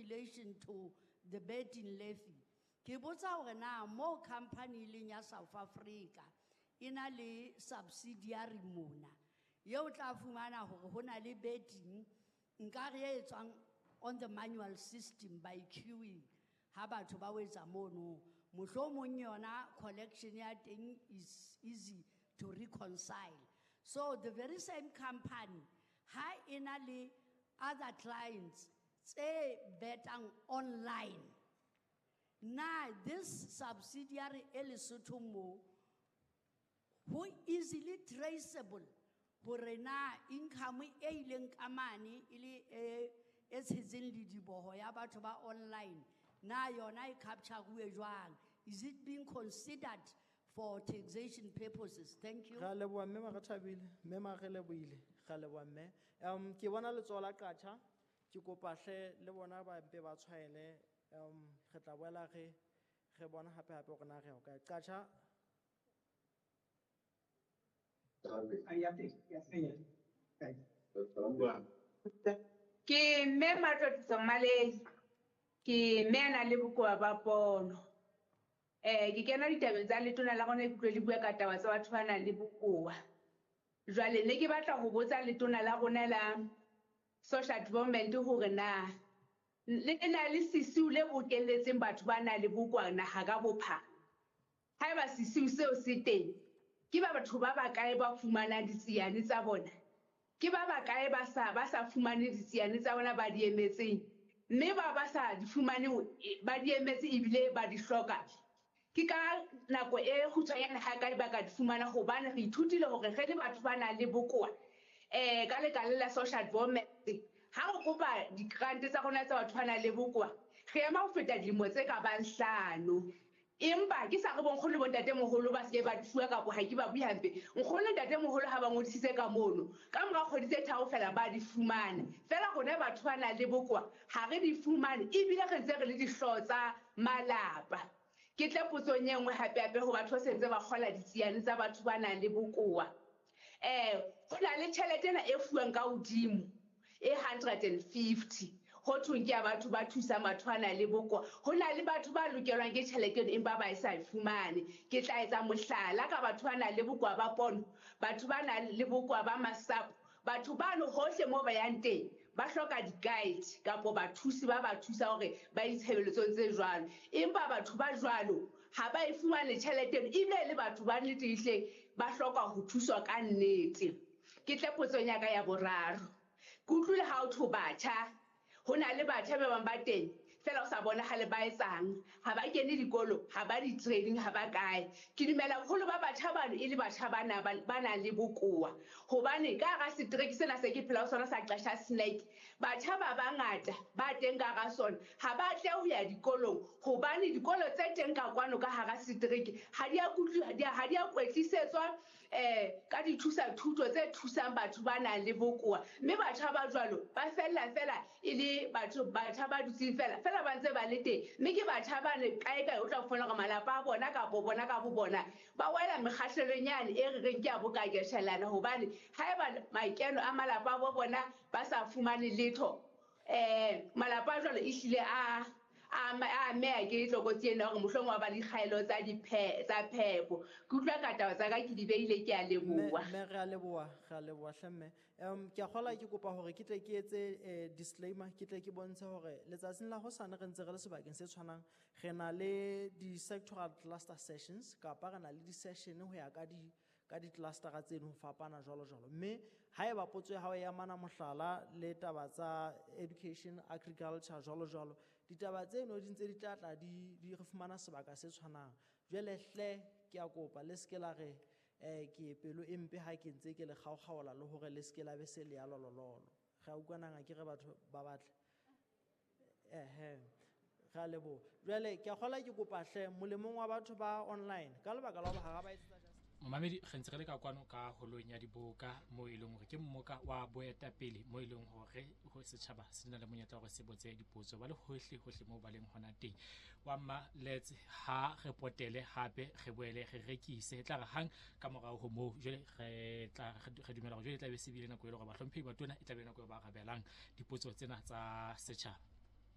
relation to the betting levy. Ke botsa hore na mo company e leng ya South Africa e na le subsidiary mona. Eo tla fumana hore ho na le betting nkare e etswang on the manual system by queuing ha batho ba o etsa mono. Mohlomong yona collection ya teng is easy to reconcile. So the very same company ha e na le other clients tse betang online. Na this subsidiary e Lesotho mo ho easily traceable hore na income e ileng ka mane e le e e tshetseng lediboho ya batho ba online na yona e capture-uwe jwang? Is it being considered for taxation purposes? Thank you. Re a leboha mme Marethabile, mme Marelebohile, re a leboha mme. Ke bona letsoho la Qatjha, ke kopa hle le bona ba mpe ba tshwaele, re tla boela re re bona hape hape hore na re ya hokae. Qatjha. Ke mme Matlotliso Mmalei, ke mme a nang le bokowa ba pono. Ke kena ditabeng tsa letona la rona, ke utlwe le bua ka taba tsa batho ba nang le bokowa. Jwale ne ke batla ho botsa letona la rona la social development hore na le na le sesiu le bokelletseng batho ba nang le bokowa naha ka bophara. Haeba sesiu seo se teng, ke ba batho ba bakae ba fumanang ditsiane tsa bona? Ke ba bakae ba sa fumane ditsiane tsa bona ba di emetseng? Mme ba ba sa di fumaneng ba di emetse ebile ba di hloka. Ke ka nako e kgutshwanyane ha kae ba ka di fumana, hobane re ithutile hore re le batho ba nang le bokowa ka lekala la social development, ha re kopa di-grant tsa rona tsa batho ba nang le bokowa, re ema ho feta dilemo tse ka bang 5. Empa ke sa re bonkgono le bontatemoholo ba seke ba di fuwa kapa ha ke ba bue hampe. Nkgono le ntatemoholo ha ba ngodisitse ka mono, ka mora kgwedi tse 3 feela ba di fumana. Feela rona batho ba nang le bokowa ha re di fumane, ebile re ntse re le dihlooho tsa malapa. Ke tle potsong e nngwe hape hape ho batho ba sentse ba kgola ditsiane tsa batho ba nang le bokowa. Ho na le tjhelete ena e fuwang ka hodimo e 150 ho thweng ke ya batho ba thusang batho ba nang le bokowa. Ho na le batho ba lokelwang ke tjhelete eno empa ba e sa e fumane. Ke tla etsa mohlala ka batho ba nang le bokowa ba pono, batho ba nang le bokowa ba masapo, batho bano hohle moo ba yang teng ba hloka di-guide kapo bathusi ba ba thusa hore ba itshebeletsong tse jwalo. Empa batho ba jwalo ha ba e fumane tjhelete eno, ebile le batho ba nnete ehlile ba hloka ho thuswa ka nnete. Ke tle potsong ya ka ya boraro. Ke utlwile ha ho thwe batjha, ho na le batjha ba bang ba teng feela o sa bonahale ba etsang, ha ba kene dikolo, ha ba di-training, ha ba kae. Ke dumela boholo ba batjha bano e le batjha ba nang le bokowa, hobane ka hara setereke sena se ke phela ho sona sa Qasha Snake, batjha ba bangata ba teng ka hara sona ha ba tle ho ya dikolong, hobane dikolo tse teng ka kwano ka hara setereke ha di a ha di a kwetlisetswa ka dithusa thuto tse thusang batho ba nang le bokowa. Mme batjha ba jwalo ba fella fela e le batho, batjha ba dutseng fela fela ba ntse ba le teng. Mme ke batjha ba ne kae kae o tla fumana hore malapa a bona kapo bona ka bo bona ba wela mekgahlelong yane e re reng ke ya bokakeshelana, hobane haeba makeno a malapa a bo bona ba sa fumane letho, malapa a jwalo ehlile a ameha ke tlokotsi ena hore mohlomong wa ba le dikgaelo tsa tsa phepo. Ke utlwa ka taba tsa ka ke di beile, ke a leboha. Mme re a leboha, re a leboha hle mme. Ke a kgolwa ke kopa hore ke tle ke etse disclaimer, ke tle ke bontshe hore letsatsing la hosane re ntse re le sebakeng se tshwanang, re na le di-sectoral cluster sessions kapa re na le di-session ho ya ka di ka di-clustera tseno ho fapana jwalo jwalo. Mme haeba potso ya hao e amana mohlala le taba tsa education, agriculture jwalo jwalo, ditaba tseno di ntse di tla tla di re fumana sebaka se tshwanang. Jwale hle ke a kopa le seke la re ke pelo e mpe ha ke ntse ke le kgaokgaola le hore le seke la be se le ya lolololo. Re a utlwanang ha ke re batho ba batle. Re a leboha. Jwale ke a kgolwa ke kopa hle molemong wa batho ba online ka lebaka la hore ha ba etsetsa just Momamedi, re ntse re le ka kwano ka holong ya diboka mo e leng hore ke mmoka wa boetapele mo e leng hore ho setjhaba se na le monyetla wa hore se botse dipotso ba le hohle hohle moo ba leng hona teng. Wa mma Lets ha re potele hape re boele re rekise, e tla re hang ka morao ho moo jwale re tla re dumela hore jwale e tla be se bile nako e le hore bahlomphehi ba tona e tla be nako e ba arabelang dipotso tsena tsa setjhaba.